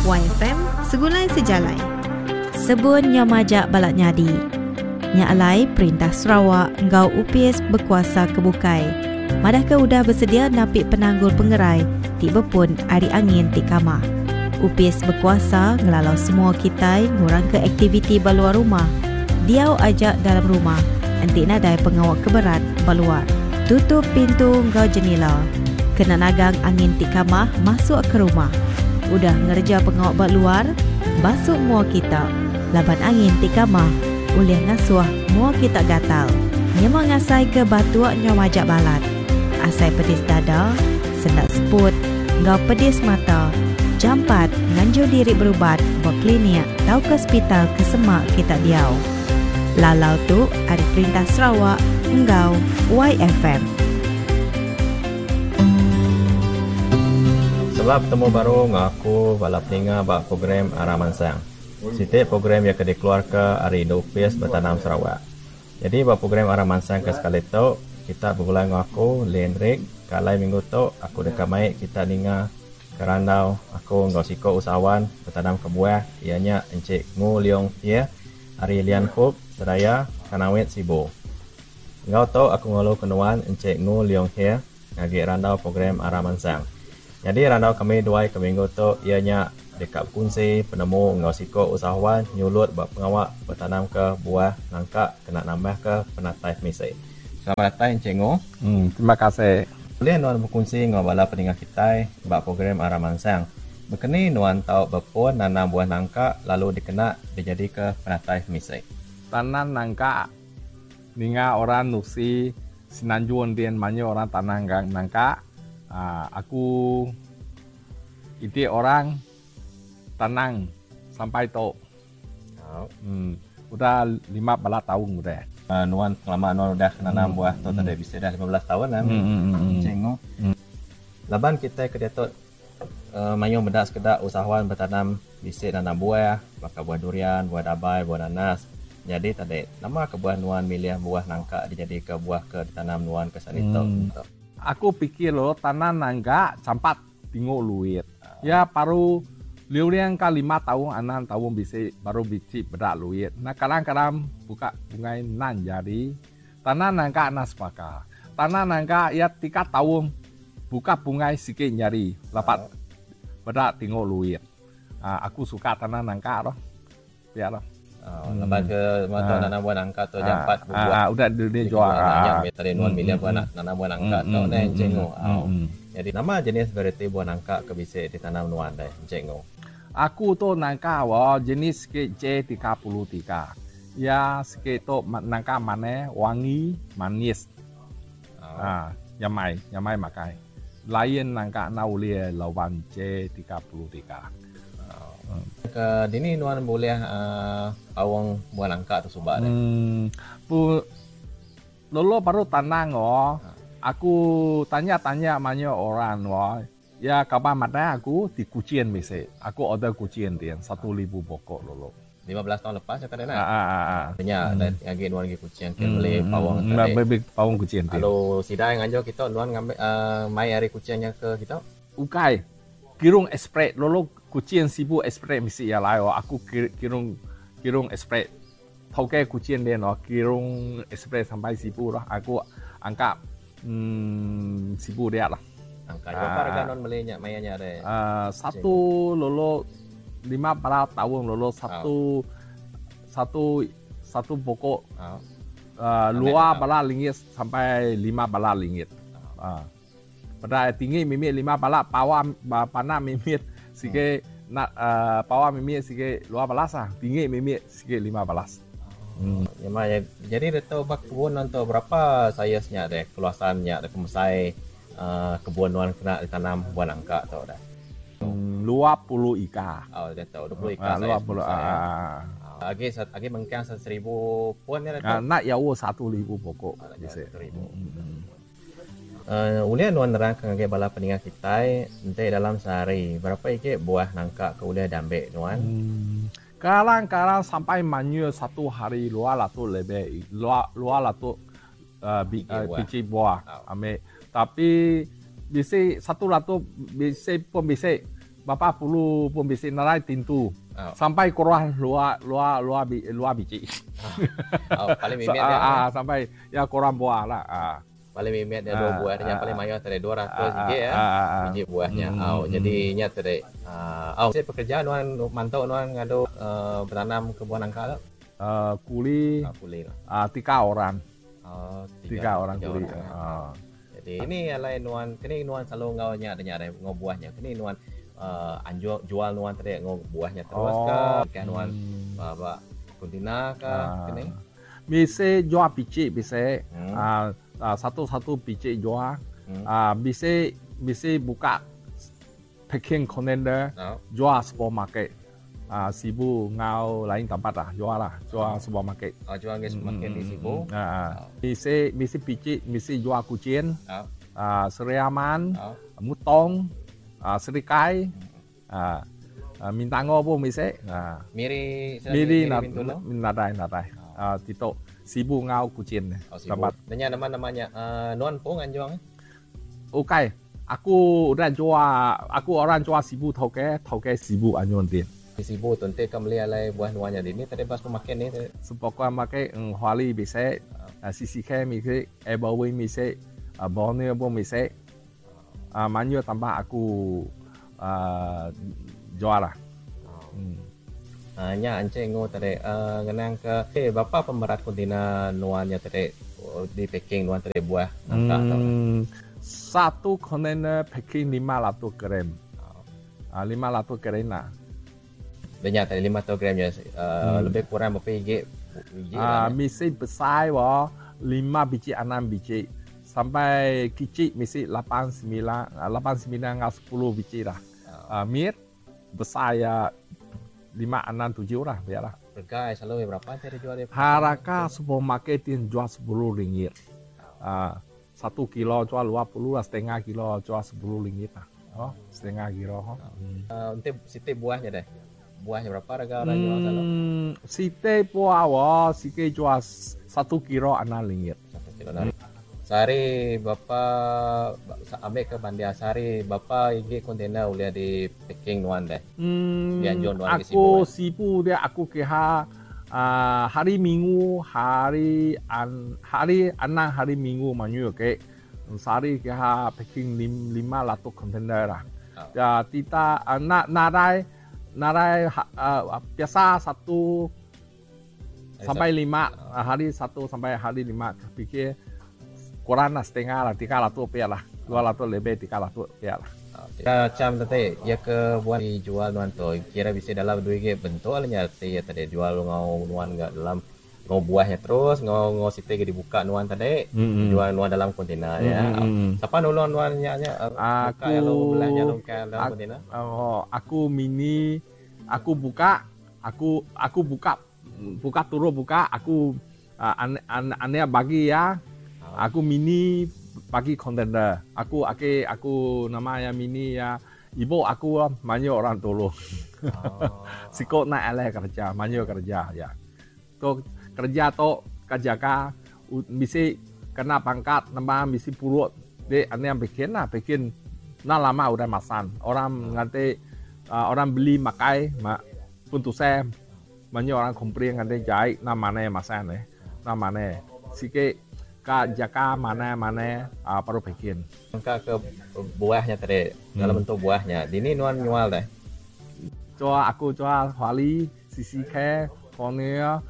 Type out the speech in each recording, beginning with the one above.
YFM Segulai Sejalai. Sebun nyau majak balat nyadi. Nya alai perintah Sarawak enggau opis bekuasa ke bukai madahka udah besedia napi penanggul pengerai ti bepun ari angin ti kamah. Opis bekuasa ngelalau semua kitai ngurangka aktiviti ba luar rumah, diau aja dalam rumah enti nadai pengawa ke berat ba luar. Tutup pintu enggau jenila kena nagang angin ti kamah masuk ke rumah. Udah ngereja pengawa ba luar, basu mua kita laban angin ti kamah ulih ngasuh mua kita gatal. Nyema ngasaika batuk nyau majak balat, asai pedis dada, sendak seput enggau pedis mata, jampat nganjung diri berubat ba klinik tauka sepital ke semak kita diau. Lalau tu ari Perintah Sarawak enggau YFM. Sela betemu baru enggau aku bala peninga ba program Arah Mansang. Siti program iya ke dikeluarka ari Indu Opis Betanam Sarawak. Nyadi ba program Arah Mansang ke sekali tu, kita begulai enggau aku, Lee Hendrick, ke alai minggu tu aku deka mai kita ninga ke randau aku enggau siku usahawan betanam ke buah iya nya Encik Ngu Leong Hie ari Lian Hup, Seraya, Kanowit, Sibu. Enggau tu aku ngulu ke nuan Encik Ngu Leong Hie ngagi randau program Arah Mansang. Nyadi randau kami duai ke minggu tu iya nya deka bekunsi penemu enggau siku usahawan nyulut ba pengawa betanamka buah nangka kena nambahka penatai pemisi. Selamat datai Encik Ngu. Terima kasih. Ulih nuan bekunsi enggau bala peninga kitai ba program Arah Mansang. Bekeni nuan tau bepun nanam buah nangka lalu dikena dijadika penatai pemisi. Tanam nangka Ninga orang nusi Semenanjung din mayuh orang tanah nangka aku iti orang tanang sampai tu udah 15 taun udah. Nuan pengelama nuan udah nanam buah tu tadi bisi dah 15 taun lah cikgu. Laban kitai ke diatu Mayuh meda sekeda usahawan betanam bisi nanam buah baka buah durian, buah dabai, buah nanas. Nyadi tadi, nama kebuah nuan milih buah nangka dijadika buah ke ditanam nuan ke sehari tu? Aku pikir lo tanam nangka jampat tengok luit. Ya baru liu-liang ka lima taun enam taun bisi baru bisi peda luit. Nah kadang-kadang buka bungai nan jadi. Tanah nangka enda sebaka. Tanah nangka iya tiga taun buka bungai sigi nyadi lapat peda tengok luit. Aku suka tanah nangka tu. Pia tu. Laban ke mata nanam buah nangka tu jampat bebuah. Udah dia jual. Nya meh tadi nuan milih buah nanam buah nangka tu neh Encik Ngo. Nyadi nama jenis varieti buah nangka ke bisi ditanam nuan deh Encik Ngo? Aku tu nangka jenis sikit J33. Iya sikit tu nangka manah wangi manis aaa nyamai nyamai makai lain nangka enda ulih lawan J 33. Ke dini nuan bulih aaa paung buah nangka tu suba deh. Pu lolo baru tanang oh aku tanya tanya mayuh orang oh Iya kaban madah aku ti Kuching bisi. Aku order Kuching din 1000 pokok lulu. 15 taun lepas nya tadi nah. Nya agi nuan agi Kuching ke beli paung tadi. Beli paung Kuching ti. Lalu sida nganjur kita nuan ngambi mai ari Kuching nya ke kita? Ukai. Kirung express lulu Kuching Sibu express bisi iya lai aku kirung kirung express. Tauke Kuching din kirung express sampai Sibu lah aku angka Sibu dia lah. Angka berapa harga nuan meli nya maya nya deh? Satu lolo 15 taun lolo satu satu satu pokok dua bala ringgit sampai lima bala ringgit. Peda tinggi mimit lima bala pawa panak mimit sigi nak pawa mimit sigi 12 ah tinggi mimit sigi 15. Nyema jadi ditu ba kebun nuan tu berapa saiz nya deh keluasan nya deh pemesai kebun nuan kena ditanam buah nangka tu deh. 20 ika. Oh ditu 20 ika saiz pemesai. Agi agi mengkang seribu pun nya ditu. Nak jauh 1000 pokok bisi. Ulih nuan nerangka ngagai bala peninga kitai enti dalam sehari berapa igi buah nangka ke ulih diambi nuan? Kadang-kadang sampai manyuh satu hari 200 lebih 200 biji buah ambi tapi bisi 100 bisi pun bisi. Bapa puluh pun bisi narai tintu. Oh. Sampai kurang luar luar luar luar biji. Oh, paling mimit ya. Ah, sampai ya kurang buah lah. Ah. Paling mimit dia dua buah yang paling mayuh tadi 200 biji ya. Biji buahnya. Oh, jadi nya tadi. Oh, saya pekerja nuan mantau nuan ngadu bertanam ke buah nangka tu. Kuli. Kuli. Tiga orang. Oh, tiga orang kuli. Jadi ini alai nuan kini nuan selalu ngau nya ada ngau buahnya. Kini nuan anjur jual nuan tadi ngau buahnya terus ke kan nuan ba kontina ke kini. Bisa jual biji bisa satu-satu biji jual. Bisa bisa buka packing container jual supermarket. Sibu ngau lain tempat lah jual lah jual supermarket. Oh, jual ke supermarket di Sibu. Bisa bisa biji bisa jual kucing. Seri Aman, Mutong, Serikai, Mintango pun bisa. Miri, Miri nadai nadai. Tito Sibu ngau kucing. Oh, Sibu. Nanya nama-namanya nuan pun anjuang? Okey, aku udah jual, aku orang jual Sibu toke, toke Sibu anjuang dia. Sibu tu nanti kamu beli alai buah nuannya di ni tadi pas supermarket ni. Supermarket Huali bisa, CCK bisa, Everwin bisa, Borneo pun bisa. Manyu tambah aku jual lah. Nya anceng ngo tadi ngenang ke bapa pemerat kontainer nuannya tadi di packing nuan tadi buah nangka tau. Satu kontainer packing 500 gram. 500 gram lah. Banyak tadi 500 gram ya, lebih kurang berapa biji? Misi besar wah 5 biji 6 biji sampai kecil misi 8 9 8 9 ngau 10 biji lah. Mir besar ya 5 6 7 lah biarlah. Harga selalu berapa tadi jual dia? Harga supermarket dia jual 10 ringgit. 1 kilo jual 20 lah, setengah kilo jual 10 ringgit lah. Oh, setengah kilo. Untuk siti buahnya deh. Buahnya berapa harga orang jual selalu? Siti buah wah, siti jual 1 kilo 6 ringgit. 1 kilo 6. Sehari bapa ambil ke Bandia sehari bapa igi kontainer ulia di packing nuan deh. Dia jual nuan ke Sibu. Aku Sibu dia aku ke hari Minggu hari hari enam hari Minggu manyu ke. Sehari ke packing 500 kontainer lah. Ya tidak nak narai narai biasa 1 sampai 5 hari 1 sampai hari 5 pikir kurang lah setengah lah 300 rupiah lah 200 lebih 300 rupiah lah. Macam tadi ya ke buat dijual nuan tu kira bisa dalam duit ke bentuk alnya ya tadi jual ngau nuan enggak dalam ngau buahnya terus ngau ngau siti ke dibuka nuan tadi jual nuan dalam kontainer ya. Siapa nulung nuan nya aku belahnya longkang dalam kontainer? Oh, aku mini aku buka aku aku buka buka turun buka aku ane bagi ya. Aku mini bagi kontainer. Aku aku aku namanya mini ya. Ibu aku banyak orang tolong. Sikok nak alih kerja, banyak kerja ya. Tok kerja tok kerja mesti kena pangkat, nama mesti purut. Dia ane yang bikin lah, bikin nak lama udah masan. Orang nanti orang beli makai, pun tu saya banyak orang komplain nanti jahit nama mana masan ni, nama mana. Sikit ka jaga mana-mana baru bikin. Ka ke buahnya tadi dalam bentuk buahnya. Dini nuan jual deh. Jual aku jual Huali, CCK, Cornell,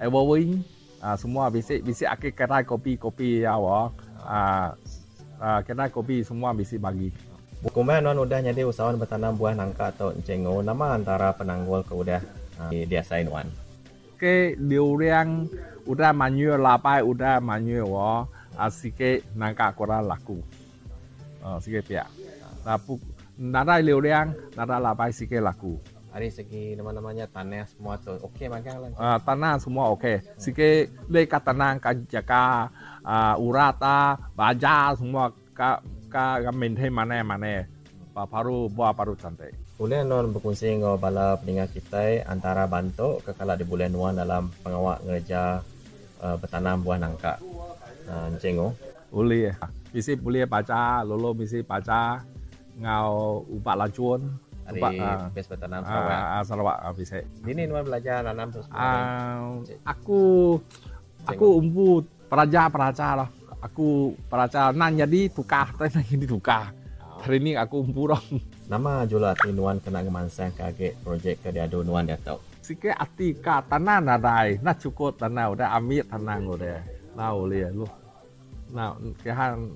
Everwin, semua bisa bisa aku kedai kopi-kopi ya wah. Kedai kopi semua bisa bagi. Bukuman nuan udah jadi usahawan bertanam buah nangka atau cengo nama antara penanggul ke udah diasain nuan. Ke 流量 udah manyu labai udah manyu wah sikit nangka kurang laku. Sikit pihak. Nah, nada 流量 nada labai sikit laku. Dari segi nama-namanya tanah semua tu okey magang lah. Tanah semua okey. Sikit leka tanah ka jaga urata baja semua ka ka maintain mana mana. Baru buah baru cantik. Boleh non berkongsi dengan bala pendengar kita antara bantu ke kalau di bulan nuan dalam pengawak ngerja bertanam buah nangka. Cengo. Boleh. Mesti boleh baca, lolo mesti baca. Ngau ubat lajun. Ari Opis Betanam Sarawak. Ah, Sarawak ah, bisi. Dini nuan belajar nanam tu semua? Aku aku umpu peraja-peraja lah. Aku peraja nan jadi tukar, tai nan jadi tukar. Training aku umpu lah. Nama jula ati nuan kena ngemansangka agi projek ke diadu nuan diatu? Sikit ati ka tanah nadai, nah cukup tanah udah ambil tanah udah. Nah ulih lu. Nah, kehan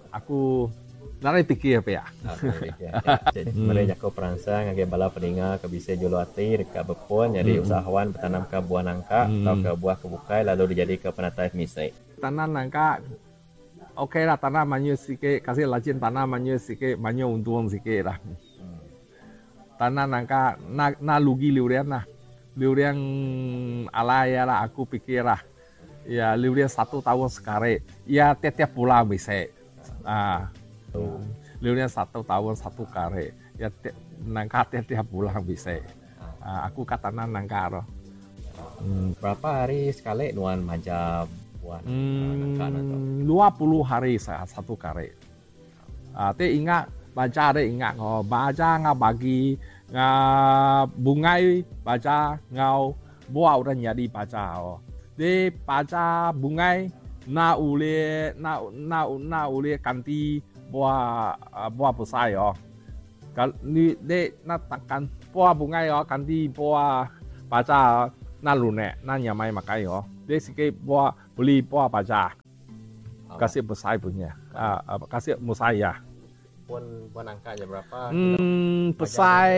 aku nadai pikir pia. Meri jaku peransang ngagai bala peninga ke bisi juluk ati deka bepun nyadi usahawan betanamka buah nangka tauka buah ke bukai lalu dijadika penatai pemisi. Tanam nangka ok lah tanam mayuh sikit kasi lajin tanam mayuh sikit mayuh untung sikit lah. Tanam nangka na rugi liulian lah. Liulian alai lah aku pikir lah. Ya liulian satu tahun sekali ya tiap-tiap bulan bisi. Ah liulian satu tahun satu kali ya nangka tiap-tiap bulan bisi. Ah aku ka tanam nangka ro. Berapa hari sekali nuan maja buah nangka nuan tu? 20 hari satu kali. Ah ti ingat baja ti ingat oh baja ngau bagi ngau bungai baja ngau buah udah nyadi baja oh. Di baja bungai na ulih na na na ulih ganti buah buah besai oh. Kal ni de na takkan buah bungai oh ganti buah baja na lunek na nyamai makai oh. Dia sikit buah beli buah baja. Kasih besai punya. Kasih besai ya. Pun buah nangka je berapa? Besai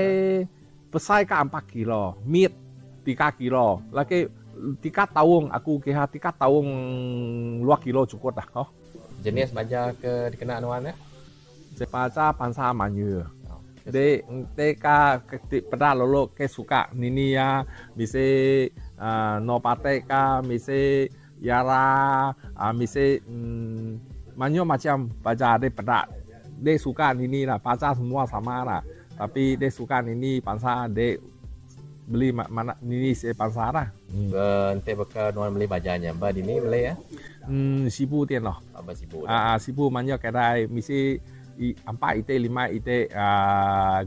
besai ke 4 kilo, mid 3 kilo. Lagi 3 tahun aku kira 3 tahun 2 kilo cukup dah. Oh. Jenis baja ke dikena nuan ya? Baja bangsa Melayu. Dia dia ka pada lolo ke suka nini ya, misi nopate ka, misi yara, misi banyak macam baja dia pada. Dia suka nini lah, baja semua sama lah. Tapi dia suka nini bangsa dia beli mana nini si bangsa lah. Ente bekal nuan beli bajanya, ba dini beli ya? Sibu tian loh. Apa sibu? Sibu banyak kedai misi 4 ite 5 ite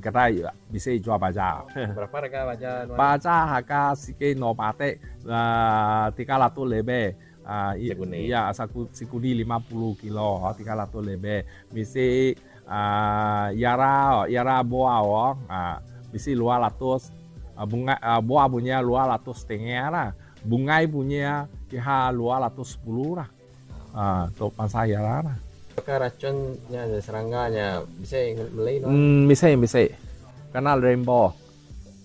kedai bisa jual baja. Berapa harga baja nuan? Baja harga sikit 9 te, 300 lebih. Sekuni. Ya, sekuni 50 kilo, 300 lebih. Misi yara, yara buah, oh, misi 200, bunga, buah punya 250 lah. Bungai punya kira 210 lah. Tu pasal yara lah. Apakah racunnya serangganya bisa beli no? Bisa, bisa. Karena rainbow.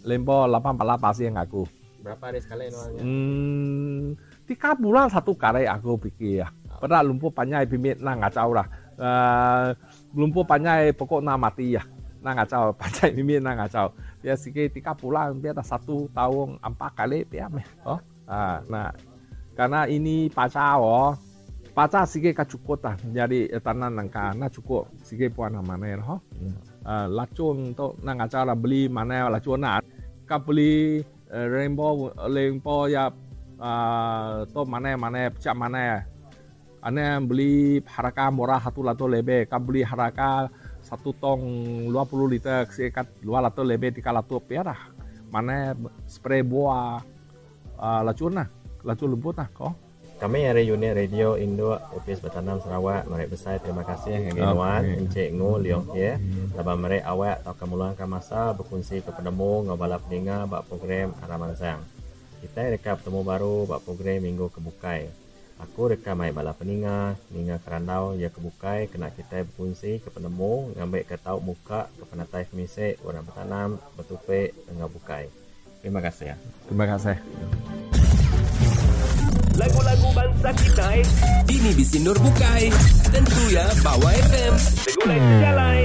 Rainbow 18% aku. Berapa hari sekali no? 3 bulan satu kali aku fikir ya. Padahal lumpur banyak bibit nak ngacau lah. Lumpur banyak pokok nak mati ya. Nak ngacau, banyak bibit nak ngacau. Dia sikit 3 bulan, dia dah 1 tahun 4 kali dia meh. Oh. Nah, karena ini pacar oh. Pacar sikit ka cukup lah. Jadi tanah nangka nak cukup sikit puan mana lah. Lacun tu nak ngacau lah beli mana lacun nak. Ka beli rainbow, rainbow ya tu mana mana pecah mana. Ane beli harga murah 100 lebih. Ka beli harga 1 tong 20 liter sikit 200 lebih 300 rupiah lah. Mana spray buah lacun lah, lacun lembut lah kok. Kami dari unit radio Indo Opis Betanam Sarawak merek besar terima kasih ngagai nuan Encik Ngu Leong Hie laban merek awak tauka meluangka masa berkongsi ke penemu enggau bala peninga ba program Aram Mansang. Kitai deka betemu baru ba program minggu ke bukai. Aku deka mai bala peninga ninga kerandau iya ke bukai kena kitai berkongsi ke penemu ngambika tau muka ke penatai pemisi orang betanam betupi enggau bukai. Terima kasih. Terima kasih. Lagu-lagu bangsa kita Dini bisinur bukai. Tentu ya Bawa FM. Segulai sejalai.